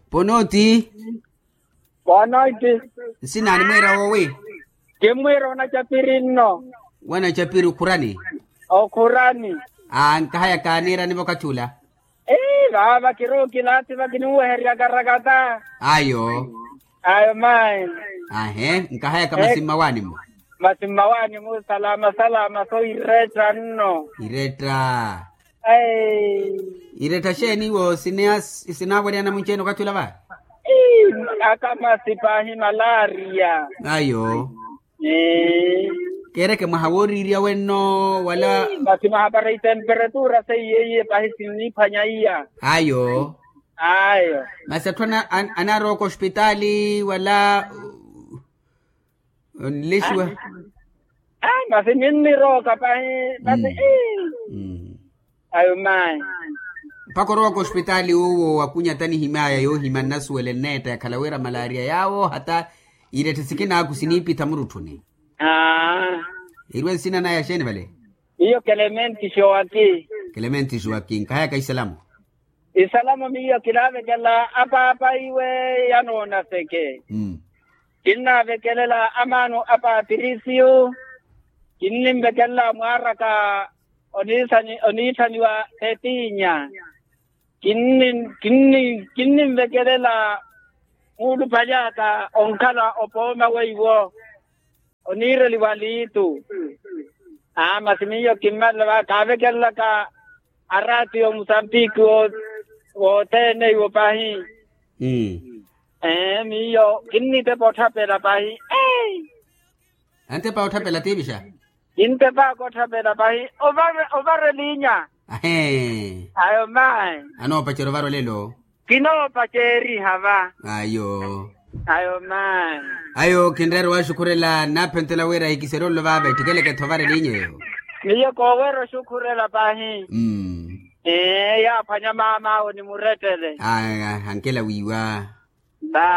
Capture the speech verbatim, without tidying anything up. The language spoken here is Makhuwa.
Ponoti. Ponoti. Nsina animwiira woowi? Kimmwiira onacapiri nno. Wanacapiri okhurani? Okhurani. Aa nkahaya kaaniirani vakathi ula. Ii vaava kiruuki laati vakinuweherya karakata. Ayo. Ayo mayi. Ahe nkahayaka masi mmawaani-mo? Masi mmawaani-mo salama salama so iretta nno. Iretta. Irettha xeeni iwo sinaaweryana munci-ene okathi ula va? Ii akamasi paahi malaria. Ayo. Keereke mwaha wooriirya wenno wala? Masi mwaha para itemperatura seiye iye paahi sinniphwanya iya. Ayo. Ayo. Masi atthu anaarowaka ospitaali wala? Onlexiwa. Masi ninnirooka pahi masi. Ayo mayi. Mpakha orowaka ospitaali uwo wakunya tanihimyaya yoohimya nnasuwela enneetta yakhala wira malaria yaawo hata iretthe sikinaaku siniipitha murutthuni. Aa. Eriwe nsina naya xeeni vale? Iyo kelementi xowaki. Kelementi xowaki nkahayaka isalamu. Isalamo miyo kinavekela apaapa iwe yanoona seke. Kinnavekelela amaano a patirisiyo. Kinninvekelela mwaaraka oniithaniwa tetinya. Kinninvekelela muulupaly'aka onkhala opooma weiwo. Oniireliwa liitu. Aa masi miyo kimmalela va kaavekelelaka araatiyo musambiki wothene iwo pahi. Ee miyo kinnitepa otthapela pahi. Antepa otthapela tiivixa? Kintepaka otthapela pahi. Ovara elinya. Ahee. Ayo mayi. Anoopacerya ovara olelo? Kinoopacerya va. Ayo. Ayo mayi. Ayo kinreera owaxukhurela nnaaphentela wira ahikiserye ololo vaava ettikeleke-tho ovara elinya eyo. Miyo kooweera oxukhurela pahi. Ee yaaphwanya maam'awe ni murettele. Ankela wiiwa.